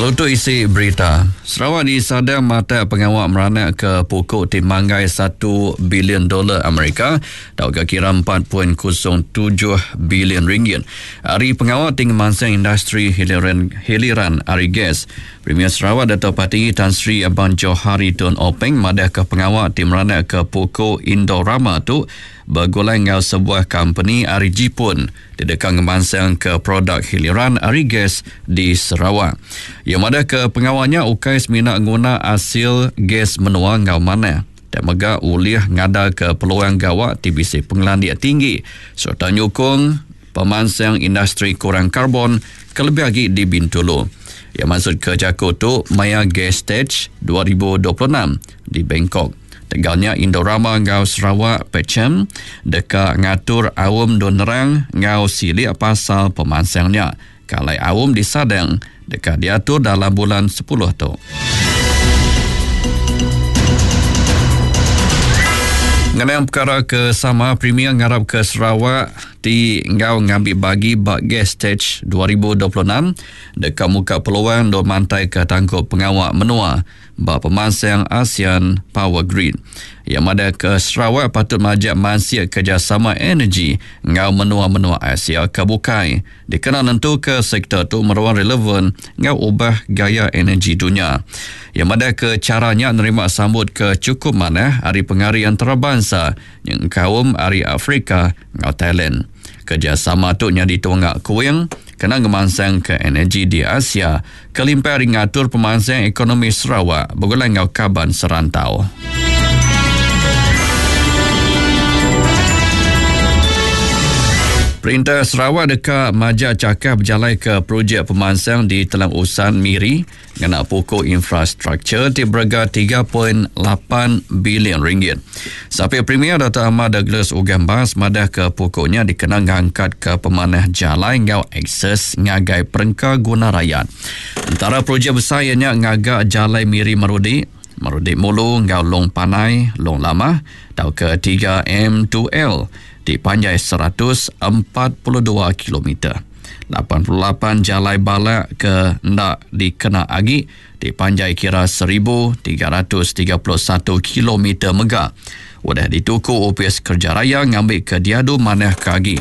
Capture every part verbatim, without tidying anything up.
Lalu tu isi berita. Sarawak disadang mata pengawak meranak ke pokok ti manggai satu bilion dolar Amerika atau kira empat perpuluhan kosong tujuh bilion ringgit. Hari pengawak tinggi mansang industri hiliran, hiliran ari gas. Premier Sarawak Dato' Patinggi Tan Sri Abang Johari Tun Openg madah ke pengawak ti meranak ke pokok Indorama tu bergulai ngau sebuah company ari Jipun tidak ngemansang ke produk hiliran ari gas di Sarawak. Ia madah ke pengawalnya ukai semina guna hasil gas menua ngau mana. Dan mega ulih ngada ke peluang gawak T B C pengelandia tinggi serta nyukung pemansang industri kurang karbon kelebih lagi di Bintulu. Ia maksud ke jaku tu Maya Gas Stage dua ribu dua puluh enam di Bangkok. Tegalnya Indorama ngau Sarawak Pecem deka ngatur awam donerang ngau silik pasal pemansangnya. Kalai awam disadang deka diatur dalam bulan sepuluh tu. Mengenai perkara ke sama, Premier ngarap ke Sarawak ti ngau ngambil bagi bak Gas Stage dua ribu dua puluh enam deka muka peluang do mantai ke tangkup pengawak menua bak pemansang ASEAN Power Grid. Yang ada ke Sarawak patut majak mansia kerjasama energi ngau menua-menua Asia ke bukai. Dikena nentu ke sektor tu meruan relevan ngau ubah gaya energi dunia. Yang ada ke caranya nerima sambut ke cukup manah hari pengari antarabangsa yang kaum hari Afrika ngau Thailand. Kerjasama tu nyadi tunggak kuing kena ngemansang ke energi di Asia kelimpah hari ngatur pemansang ekonomi Sarawak bergulai ngau kaban serantau. Perintah Sarawak dekat majak cakap berjalan ke projek pemansang di Telang Usan Miri ngena pokok infrastruktur ti berega tiga perpuluhan lapan bilion ringgit. Sampai Premier Dato' Ahmad Douglas Uggah Embas madah ke pokoknya dikena ngangkat ke pemanah jalan ngau akses ngagai perengka guna rakyat. Antara projek besar ianya ngagak jalan Miri Marudi, Marudi Mulu ngau Long Panai, Long Lama atau ke tiga M dua L di panjai seratus empat puluh dua kilometer. lapan puluh lapan jalai balak ke ndak dikena agi di panjai kira seribu tiga ratus tiga puluh satu kilometer mega. Udah dituku O P S Kerja Raya ngambil ke diadu manah ke agi.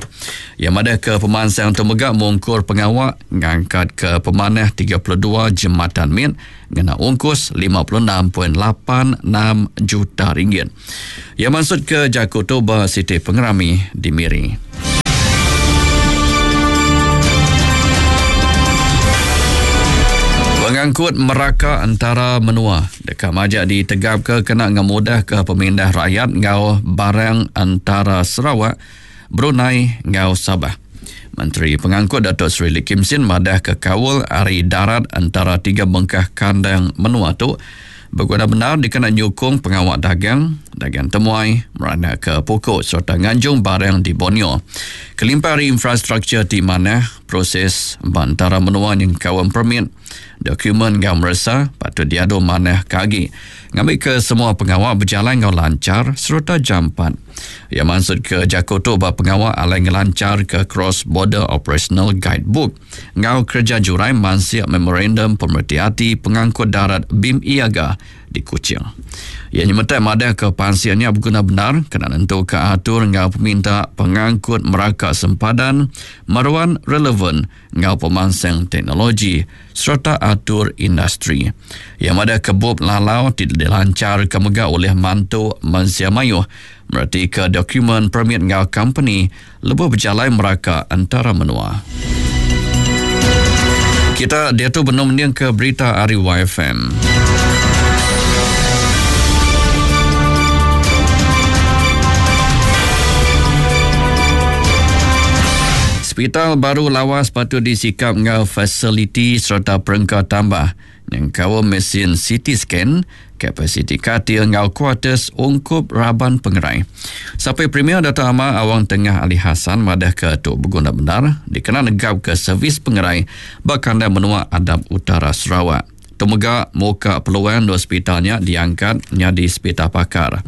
Yang ada ke pemansang tu mega mungkur pengawak ngangkat ke pemanah tiga puluh dua jembatan min ngena ungkus lima puluh enam perpuluhan lapan enam juta ringgit. Yang maksud ke Jaku Toba Siti Pengerami di Miri. Pengangkut meraka antara menua dekat majak ditegap ke kena ngemudah ke pemindah rakyat ngau barang antara Sarawak, Brunei ngau Sabah. Menteri Pengangkut Datuk Seri Lee Kim Shin madah ke kawal ari darat antara tiga bengkah kandang menua tu berguna benar dikena nyukung pengawak dagang, dagang temuai, meranak ke pokok serta nganjung barang di Borneo. Kelimpah ari infrastruktur di mana proses antara menua yang kawan permit, dokumen ngau meresa patut diadu manah kagi. Ngambil ke semua pengawak berjalan ngau lancar serta jampat. Ia maksud ke Jaku tu bah pengawak alai ngelancar ke Cross Border Operational Guidebook. Ngau kerja jurai mansiak memorandum pemerhati pengangkut darat B I M Iaga di Kuching. Ia nyemetak madah ke pansiannya berguna benar kena nentu ke atur ngau peminta pengangkut meraka sempadan meruan relevan ngau pemansang teknologi serta atur industri. Yang ada kebub lalau tidak dilancar ke megah oleh mantu mensia mayuh berarti ke dokumen permit ngau company lebih berjalan meraka antara menua. Kita dia tu benar mending ke berita Ari Y F M. Hospital baru lawas patut disikap ngau fasiliti serta perengka tambah yang kawal mesin C T scan, kapasiti katil ngau kuarters ungkup raban pengerai. Sampai Premier Dato' Amar Awang Tengah Ali Hasan madah ke Tok Berguna Benar dikena negap ke servis pengerai bakanda menua Adab Utara Sarawak. Temega muka peluang dua hospitalnya diangkat nyadi hospital pakar.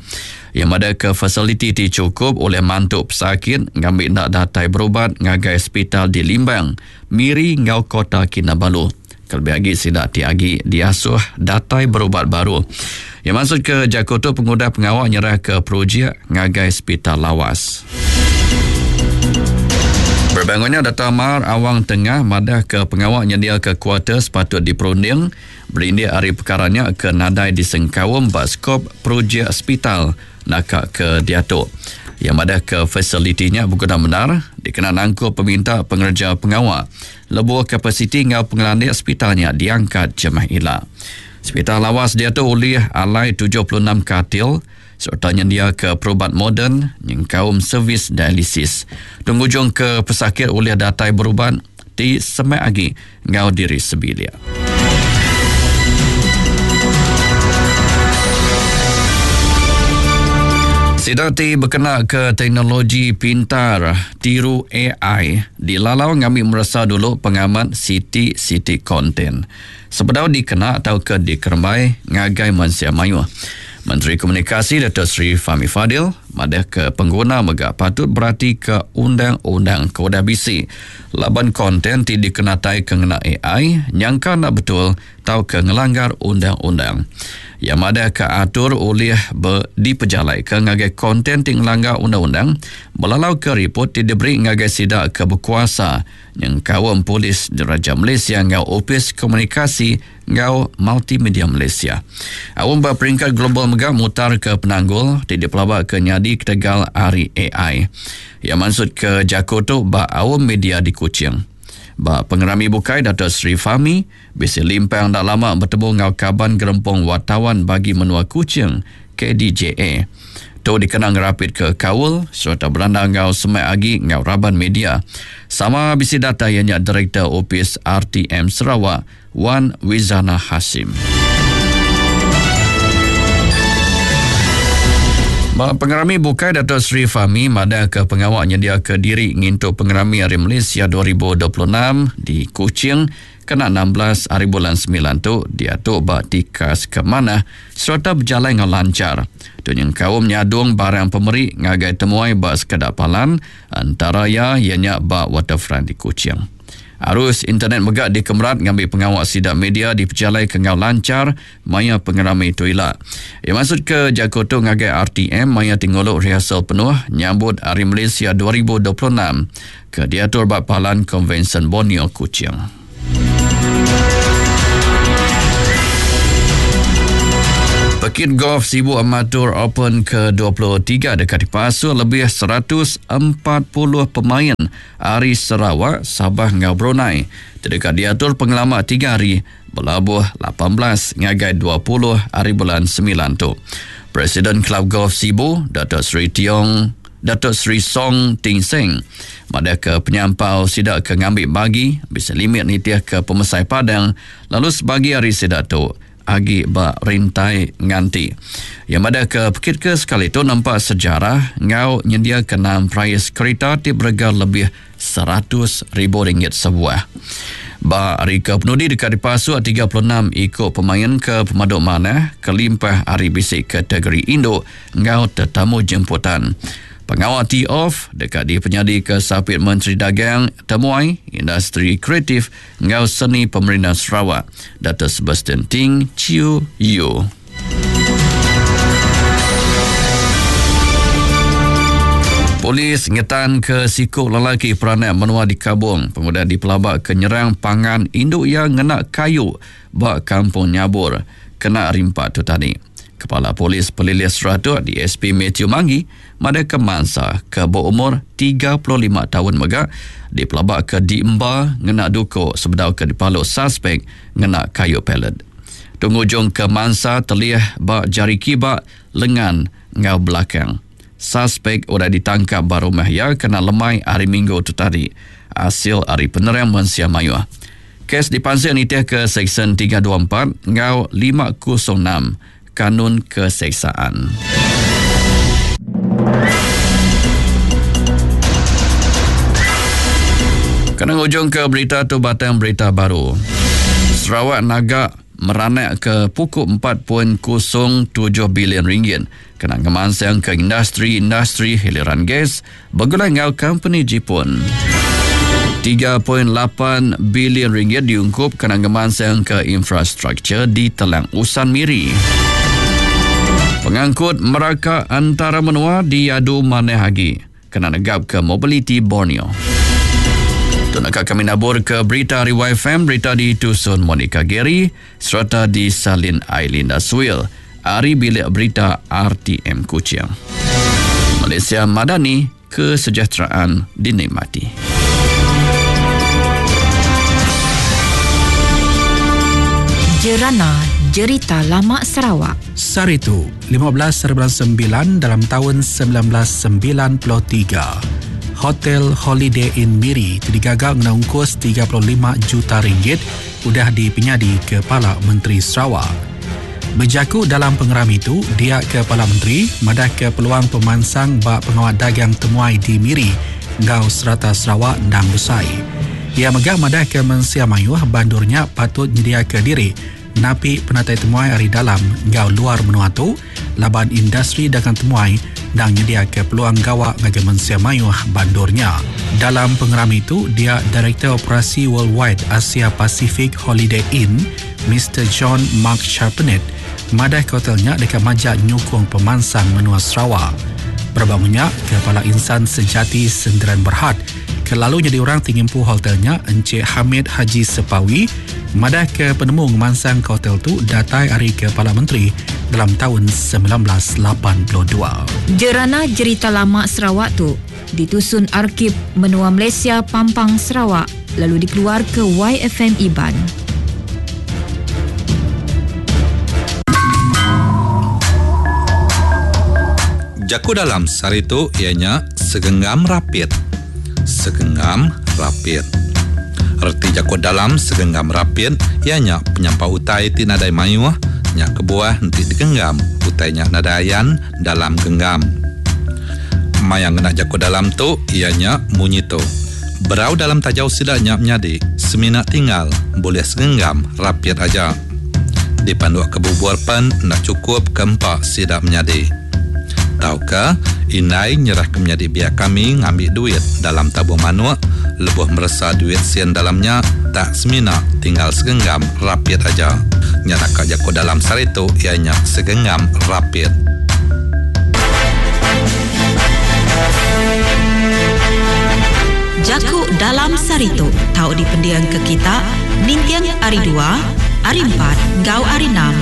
Yang ada ke fasiliti ti cukup oleh mantuk pesakit ngambil nak datai berubat ngagai hospital di Limbang, Miri ngau Kota Kinabalu. Kelebih agi sida ti agi diasuh datai berubat baru. Iya maksud ke jaku tu pengudah pengawa nyerah ke projek ngagai Sepital Lawas. Berbangunnya Dato' Amar Awang Tengah madah ke pengawa nyediaka kuarter sepatut diperunding berindik ari perkara nya ke nadai disengkaum ba skop projek sepital naka ke diatu. Yang madah ke fasilitinya berguna benar dikena nangkup peminta pengerja pengawa lebuh kapasiti ngau pengelandik sepitalnya diangkat jemah ila. Sepital Lawas diatu ulih alai tujuh puluh enam katil serta nyendia ke perubat moden nyengkaum servis dialisis. Tunggu ke pesakit ulih datai berubat ti semak agi ngau diri sebilik. Sida ti berkena ke teknologi pintar tiru A I dilalau ngambil meresa dulu pengamat siti-siti konten sebedau dikena atau ke dikerembai ngagai mensia mayuh. Menteri Komunikasi Dato' Seri Fahmi Fadil madah ke pengguna mega patut berati ke undang-undang ke udah bisi laban konten ti dikenatai ke ngena A I nyangka nak betul tau ke ngelanggar undang-undang. Yang madah ke atur oleh dipejalai ke ngagai konten ti ngelanggar undang-undang melalau ke report ti diberi ngagai sida ke berkuasa nyengkaum Polis Diraja Malaysia ngau Opis Komunikasi ngau Multimedia Malaysia. Awam ba peringkat global mega mutar ke penanggul ti dipelabak ke nyadi ketegal ari A I. Yang maksud ke jaku tu ba awam media di Kuching. Ba pengerami bukai Dato' Seri Fahmi bisi limpang dak lama bertemu ngau kaban gerempung wartawan bagi menua Kuching K D J A. Tu dikena ngerapit ke kaul serta beranda ngau semak agi ngau raban media. Sama bisi data ianya Direktur Opis R T M Sarawak Wan Wizana Hasim. Ba pengerami bukai Dato' Seri Fahmi madah ke pengawak nyendia ke diri ngintu pengerami Hari Malaysia dua ribu dua puluh enam di Kuching kena enam belas hari bulan sembilan tu diatu ba tikas ke mana serta berjalan dengan lancar. Tu nyengkaum nyadung barang pemeri ngagai temuai ba sekeda palan antara ya ianya ba waterfront di Kuching. Arus internet megak dikemerat ngambil pengawak sidak media di pejalai ke ngau lancar maya pengerami tu ila. Ia maksud ke jaku tu ngagai R T M maya tingolok rehearsal penuh nyambut Hari Malaysia dua ribu dua puluh enam ke diatur bak Palan Konvensyen Borneo Kuching. Pekit Golf Sibu Amateur Open ke dua puluh tiga dekat dipasuk lebih seratus empat puluh pemain ari Sarawak, Sabah ngau Brunei. Terdekat diatur pengelama tiga hari berlabuh lapan belas ngagai dua puluh hari bulan sembilan tu. Presiden Kelab Golf Sibu, Dato' Seri Tiong, Dato' Seri Song Ting Seng, madah ke penyampau sidak ke ngambil bagi bisa limit nitiah ke pemesai padang lalu sebagi hari sidak tu agi ba rintai nganti. Yang ada ke pekit ke sekali tu nampak sejarah ngau nyendia kenam prais kereta ti berega lebih seratus ribu ringgit sebuah. Ba hari ke penudi dekat dipasuk tiga puluh enam ikut pemain ke pemaduk mana kelimpah hari bisik kategori induk ngau tetamu jemputan. Pengawal tee-off dekat di penyadi ke Sapit Menteri Dagang Temuai Industri Kreatif ngau Seni Pemerintah Sarawak Dato' Sebastian Ting Chiu Yu. Polis ngetan ke sikuk lelaki peranak menua di Kabong pengudah dipelabak ke nyerang pangan induk yang ngena kayu ba Kampung Nyabur kena rimpak tu tadi. Kepala Polis Pelilih Seratuk D S P Matthew Manggi mada ke mangsa ke berumur tiga puluh lima tahun mega dipelabak ke diemba ngena duko sebedau ke dipaluk suspek ngena kayu pelet. Tungujung ke mangsa terliah ba jari kibak lengan ngau belakang. Suspek udah ditangkap ba rumah ya kena lemai hari Minggu tu tadi. Hasil hari penerang mensia mayuh. Kes dipansik nitih ke Seksyen tiga dua empat ngau lima kosong enam Kanun Keseksaan. Kena ujung ke berita tu batang berita baru. Sarawak naga meranak ke pukul empat titik kosong tujuh bilion ringgit kena ngemansang ke industri-industri hiliran gas bergulai ngau company Jepun. tiga perpuluhan lapan bilion ringgit diungkup kena ngemansang ke infrastruktur di Telang Usan Miri. Pengangkut meraka antara menua diadu maneh agi kena negap ke mobiliti Borneo. Tu nak kami nabur ke berita hari Y F M, berita di Tusun Monica Gary serta di Salin Ailinda Suil. Ari Bilik Berita R T M Kuching. Malaysia Madani, kesejahteraan dinikmati. Jerana Jerita Lama Sarawak. Saritu, lima belas bulan sembilan dalam tahun sembilan belas sembilan puluh tiga. Hotel Holiday Inn Miri digagal ngena ungkus tiga puluh lima juta ringgit udah dipenyadi Kepala Menteri Sarawak. Berjaku dalam pengeram itu, dia Kepala Menteri madah ke peluang pemansang bak pengawal dagang temuai di Miri ngau serata Sarawak ndang besai. Ia megah madah ke mensia mayuh bandurnya patut nyediakan diri napi penatai temuai ari dalam ngau luar menua tu laban industri dagang temuai dan nyediakan peluang gawak ngagai mensia mayuh bandurnya. Dalam pengeram itu, dia Direktur Operasi Worldwide Asia Pacific Holiday Inn, Mister John Mark Charpenet, madah ke hotelnya dekat majak nyukung pemansang menua Sarawak. Berbangunnya, Kepala Insan Sejati Senderan Berhad, kelalu jadi orang tinggi empu hotelnya, Encik Hamid Haji Sepawi, madah ke penemu ngemansang ke hotel tu datai hari Kepala Menteri dalam tahun sembilan belas lapan puluh dua. Jerana Jerita Lama Sarawak tu ditusun Arkib Menua Malaysia Pampang Sarawak lalu dikeluar ke Y F M Iban. Jaku dalam saritu ianya segenggam rapit. Segenggam rapit. Reti jaku dalam segenggam rapit ianya penyampau utai ti nadai mayuh nya kebuah enti digenggam utai nya nadai ayan dalam genggam. Mayang ngena jaku dalam tu ianya munyi tu. Berau dalam tajau sida nya menyadi semina tinggal boleh segenggam rapit aja. Dipanduk ke bubur pen nak cukup keempat sida menyadi. Tauka inai nyerah ke menyadi biak kami ngambil duit dalam tabung manuk lebuh meresa duit sen dalamnya tak semina tinggal segenggam rapit aja. Nyata jaku dalam saritu ianya segenggam rapit. Jaku dalam saritu tau dipendiang ke kita nintiang ari dua, ari empat, gau ari enam.